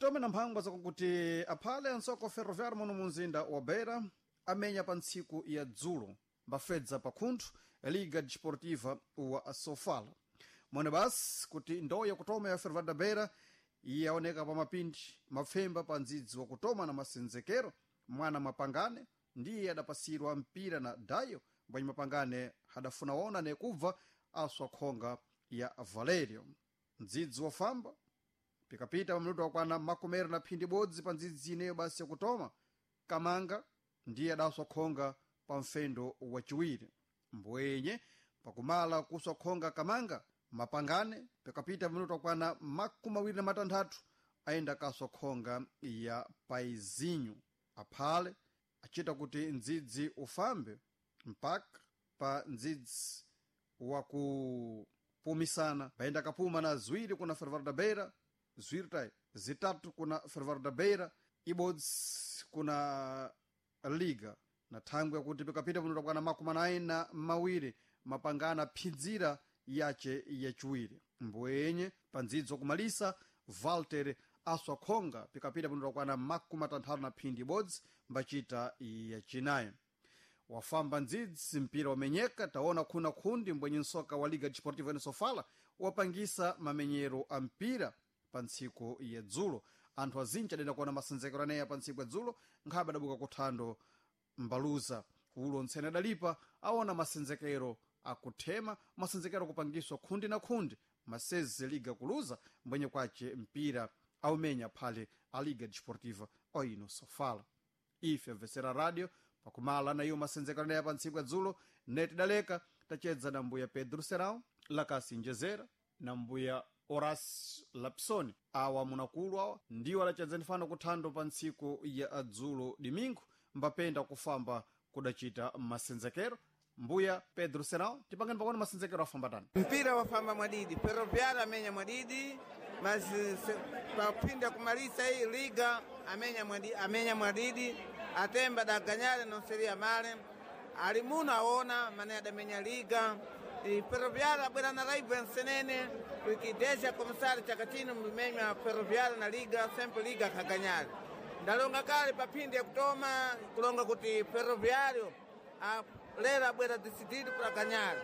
Titome na mphangwa zakuti aphale ansoko ferroviário muno mu mzinda wa Beira amenya pa ntsiku ya dzulo mbafedza pakhunthu Liga Desportiva wa Sofala. Mwene basi kuti ndowe yakutoma ya Ferroviário da Beira yaoneka pa mapindi mapfemba pa ndzidzi wakutoma na masenzekero mwana mapangane ndiye adapasirwa mpira na Dayo mbwenye mapangane hadafuna wona nekubva aswa khonga ya Valerio. Ndzidzi wafamba pikapita pamluto wakwana makomero na phindi bodzi pa ndzidzi ineyo basi yakutoma Kamanga ndiye adaswa khonga pa mfendo wachiwiri. Mbwenye pakumala kuswa khonga Kamanga mapangane pikapita pamluto wakwana 26 ayenda kaswa khonga ya Paizinho. Aphale achita kuti ndzidzi ufambe mpaka pa ndzidzi wakupumisana paenda kapuma na ziwiri kuna Ferroviário da Beira, ziwiri tayi zitatu kuna Ferroviário da Beira, ibodzi kuna Liga. Na thangwe yakuti pikapita pano takwana 42 mapangana phinzira yace yachiwiri. Mbwenye pa ndzidzo kumalisa Walter aswa khonga pikapita pano takwana 65 na phindi ibodzi mbachita yachinayi. Wafamba ndzidzi mpira wamenyeka taona khuna khundi mbwenye nsoka wa Liga Desportiva ene Sofala wapangisa mamenyero a mpira pa ntsiku ya dzulo. Anthu azinji adenda kuona masenzekero aneya pa ntsiku ya dzulo nkhabe adabuka kuthando mbaluza ulo ntsene adalipa aona masenzekero akuthema masenzekero akupangiswa khundi na khundi masezi Liga kuluza mbwenye kwace mpira aumenya phale a Liga Desportiva oino Sofala. Ife amvesera radio pakumala na iyo masenzekero aneya pa ntsiku ya dzulo neti daleka tachedza na mbuya Pedro Serão Lakasi Njezera na mbuya Horace Lapsoni. Awa munakulu awa ndiwo adachedza ndifano kuthando pa ntsiku ya dzulo dimingu mbapenda kufamba kudachita masenzekero. Mbuya Pedro Serão, tipangani pakuona masenzekero afamba tani. Mpira wafamba mwadidi, Ferroviário amenya mwadidi, mas papinda kumalisa hii Liga amenya mwadidi, amenya mwadidi atemba daganyale non seria male ali muno aona mane adamenya Liga. E Ferroviário abwera na raiva nsenene porque desde a começar chaka chino mmenya Ferroviário na Liga sempre Liga kaganyale. Ndalonga kale papindi ya kutoma kulonga kuti Ferroviário lero abwera decidido para ganhar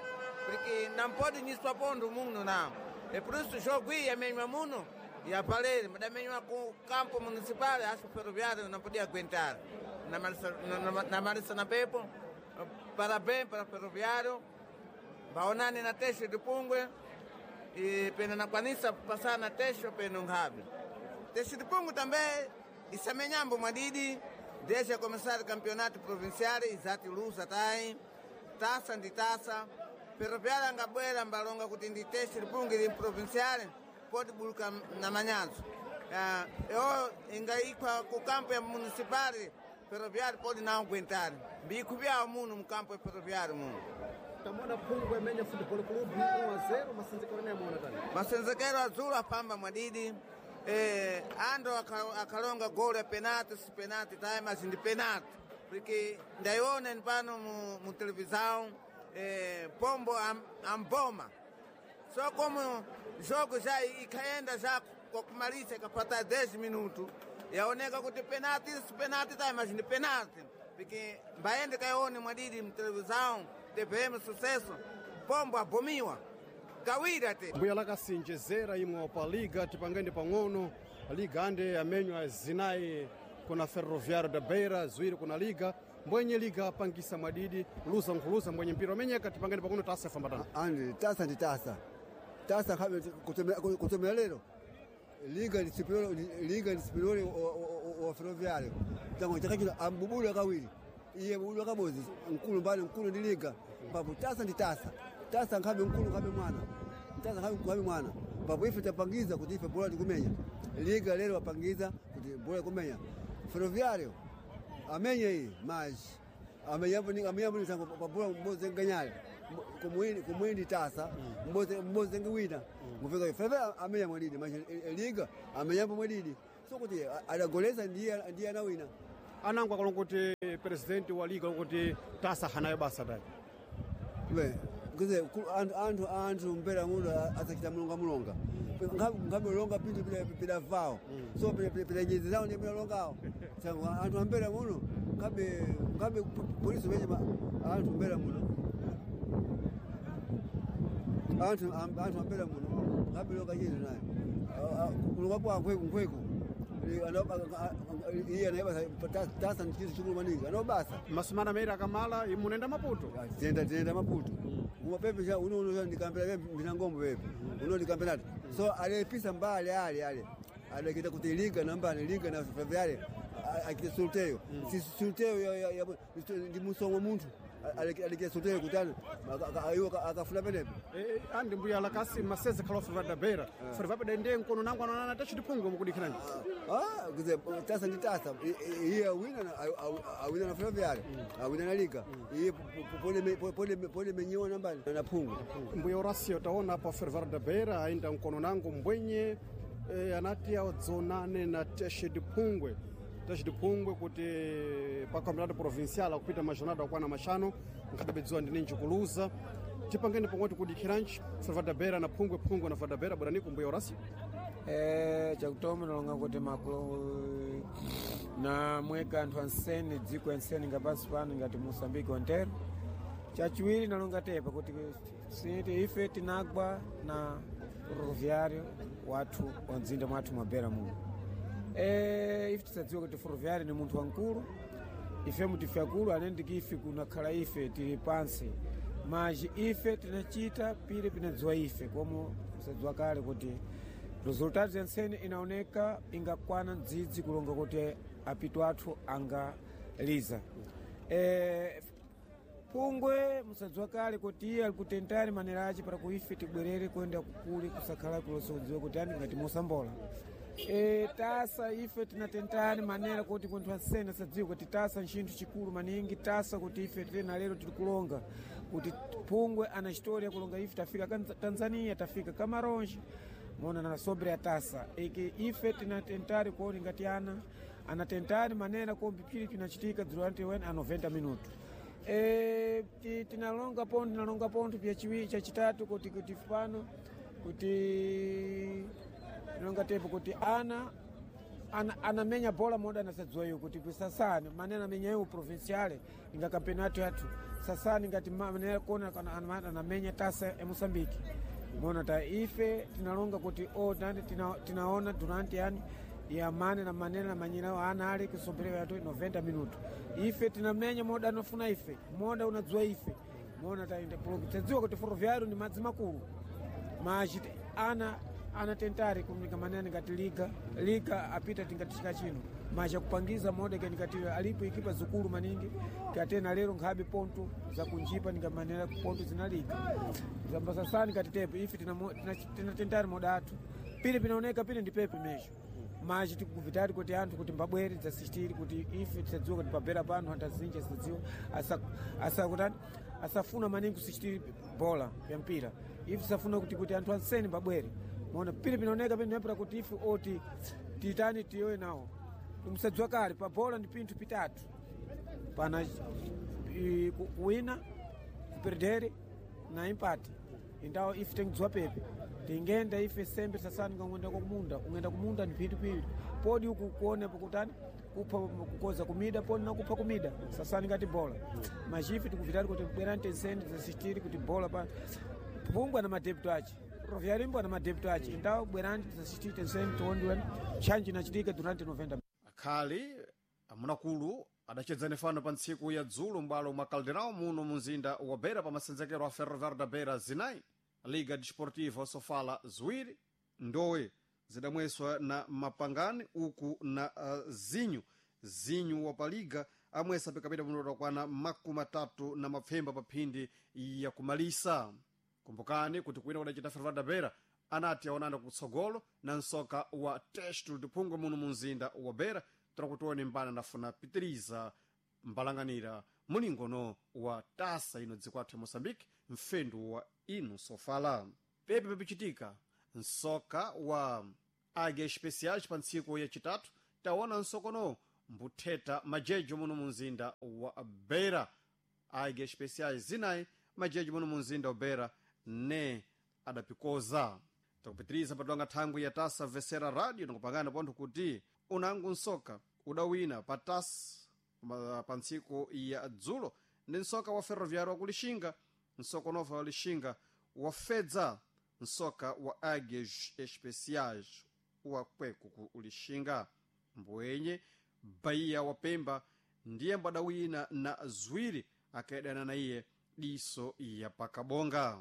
porque não pode nisso apondo muno não. E por isso jogo ia mesmo muno e a palheira, mas também com o campo municipal, acho que o Ferroviário não podia aguentar. Na Marisa na Pepo, parabéns para o Ferroviário, Baonani na Teixe de Pungue, e pena na Quanissa passar na Teixe, pena um rabe. Teixe de Pungue também, e Samenhambo Madidi, desde a começar o campeonato provincial, exato lusa tai, taça de taça, Ferroviário angabwera mbalonga kuti ndi Teixe de Pungue de provincial, pode buluka na manyanzo. Eu ingaikwa ku campo ya municipal, Ferroviário pode não aguentar. Bico vya muno mu campo ya Ferroviário muno. Tamona Phungwe amenya Football Club 1-0 masenzekero ne amona tani. Masenzekero azulu afamba mwadidi. Ando akalonga gol ya penalti, si penalti time mas ndi penalti. Porque ndaiona pano mu televisão, Pombo amboma. Só como jogo já ikaenda já kwa kumaliza ikapata 10 minutos yaoneka kuti penalti si penalti tá, mas ndi penalti porque mbaende kaione mwadidi mtelevisão TVM Sucesso Pombo abomiwa kawira te. Mbuya lakasinjezera imwe pa Liga tipangende pang'ono. Liga ande amenywa zinayi kuna Ferroviário da Beira, ziwiri kuna Liga mbwenye Liga apangisa mwadidi luza nkhuluza mbwenye mpira wamenyeka tipangende pang'ono tasa famba tani. Andi tasa ndi tasa tasa khabe kutomera lero Liga ndi superior, Liga ndi superior wa Ferroviário tango chakachino ambubulu kawiri iye bubulu kabozi nkulu mbali nkulu ndi Liga papo tasa ndi tasa tasa nkhabe nkulu nkhabe mwana tasa nkhabe mwana papo ife tapangiza kuti ife bola tikumenya Liga lero wapangiza kuti bola kumenya Ferroviário amenye iyi maji amenyambo ni tango pabola mboze nganyale kumwindi tasa mboze ngiwina ngufika fefe amenya mwadidi maji Liga amenyambo mwadidi so kuti adagoleza ndiye anawina. Anango akalonga kuti president wa Liga kuti tasa hanayo basa dai. We kuze anthu mpera muno asachita mulonga mulonga. Ngabe longa pindu pila vao. So pila nyezi zao ni pila longao. Sasa anthu ambera muno ngabe polisi wenye anthu ambera muno. Anthu ambera muno ngabe longa nyezi naye. Kulonga kwa nkweku. Iye anayebasa tasa ndi chinthu chikulu maningi anobasa. Masumana mairi akamala imunenda Maputo. Tiyenda Maputo. Kuma pepe cha uno ndikambira pepe ndinangombo pepe. Uno ndikambira so alepisa mbali ale. Alekita kuti liga namba ni liga na Ferroviário akite sorteio. Si sorteio ya ndi musongo munthu. Alekita sorteio kutani ayo akafuna penepo. Andi mbuya lakasi maseze khala Ferroviário da Beira. Ferroviário dende nkono nangu anonana tachi diphungwe mukudikhiranji. Kuze tasa ndi tasa. Iye awina awina na Ferroviário. Awina na liga. Iye pole menyiwa nambani na phungwe. Mbuya Horacio taona apa Ferroviário da Beira ainda nkono nangu mbwenye anati adzonane na Teste de Pungwe. Teste de Pungwe kuti pa campeonato provincial akupita majornada akwana machano nkadabedziwa ndi ninji kuluza. Tipangeni pomwe tikudikhiranji Ferroviário da Beira na Phungwe, Phungwe na Ferroviário da Beira bweraniku mbuya Horacio. Chakutoma nalonga kuti makulu na mweka anthu ansene dziko ansene ngapansi pano ngati Moçambique ontero. Chachiwiri nalonga tepa kuti siti ife tinagwa na Ferroviário wathu wa mzinda mwathu mwa Beira muno. Ife tisadziwa kuti Ferroviário ni munthu wamkulu, ife mutife akulu anendiki ife kunakhala ife tili pansi maji ife tinachita pile pinadziwa ife komo tisadziwa kale kuti resultado yansene inaoneka ingakwana mdzidzi kulonga kuti apitu athu angaliza. Pungwe musadziwa kale kuti iye ali kutentani manera ace para kuife tibwerere kuenda kukuli kusakhala kulosa kudziwa kuti ani ngati mosambola. Tasa ife tinatentani manera kuti kunthu ansene asadziwe kuti tasa ntchinthu chikulu maningi tasa kuti ife tena lero tili kulonga kuti Pungwe ana historia kulonga ife tafika Tanzania tafika Camarões mona na sobre a tasa iki ife tinatentari kuoni ngati ana anatentani manera kombi pili pinachitika durante a 90 minutos. Tinalonga pontho pya chiwiri chachitatu kuti pano kuti tinalonga tepo kuti ana anamenya bola moda anasadziwa iyo kuti sasani manena amenya iwo provinciale inga campeonato yathu sasani ngati manena kona anamenya tasa ya Moçambique mona ta ife tinalonga kuti tinaona durante yani ya mane na manena na manyina ana ali kusombelewa yatu 90 minuto ife tinamenya moda anofuna ife moda unadziwa ife mona ta tadziwa kuti Ferroviário ni madzi makulu machi ana anatentari kumika manene ngati liga apita tingati chika chino macha kupangiza moda ngati alipo ikipa zikulu maningi katena lero nkhabe ponto zakunjipa ningamanena ponto zinaliga zambasasani ngati tepo ife tinatentari moda athu pili pinaoneka pili ndi pepe mesho machi tikuvitali kuti anthu kuti mbabwere dzasistiri kuti ife tisadziwa kuti pabera pano anthu azinji asadziwa asakutani asafuna maningi kusistiri bola ya mpira ife tisafuna kuti anthu ansene mbabwere mona pili pinaoneka pili nepera kuti ife oti titani tiyoye nawo musadziwa kale pa bola ndi pinthu pitatu pana kuwina kuperdere na empate indawo ife tengidziwa pepe tingenda ife sembe sasani ngangwenda kumunda ungenda kumunda ni pinthu pili podi uku kuone pakutani kupha kukoza kumida podi nakupha kumida sasani ngati bola machifi tikuvitali kuti bwerani tenseni zasistiri kuti bola pa Pungwe na madepto ache Ferroviário na madepto ache indawo bwerani zasistiri tenseni tiondiweni chanji inachitika durante 90 Akhali amunakulu adachedzani fano pa ntsiku ya dzulo m'bwalo mwa Caldeirão muno mu mzinda wa Beira pa masenzekero a Ferroviário da Beira zinayi Liga Desportiva Sofala ziwiri ndowe zidamweswa na mapangani uku na zinyu wa paliga amwesa pikapita munoto kwana 30 na mapfemba pa phindi ya kumalisa. Kumbukani kuti kwina kudachita Ferroviário da Beira anati aonana kutsogolo na msoka wa Testo de Phungwe muno mu mzinda wa Beira trakutione mbana nafuna pitiriza mbalanganira mulingono wa tasa ino dziko athu ya Moçambique mfendu wa ino Sofala. Pepe pepichitika msoka wa Águias Especiais pa ntsiku yacitatu taona msokono mbutheta majejo muno mu mzinda wa Beira. Águias Especiais zinayi majejo muno mu mzinda wa Beira ne adapikoza. Takupitiriza patwanga thangwi ya tasa vesera radio nakupangana pontho kuti unangu nsoka udawina pa tas pa ntsiku ya dzulo ndi nsoka wa ferroviário wa kulixinga. Nsoka unova wa lixinga wafedza nsoka wa Águias Especiais wa kweku ku Lixinga. Mbwenye Bahia wa Pemba ndiye mbadawina na 2 akaidana na iye diso ya pakabonga.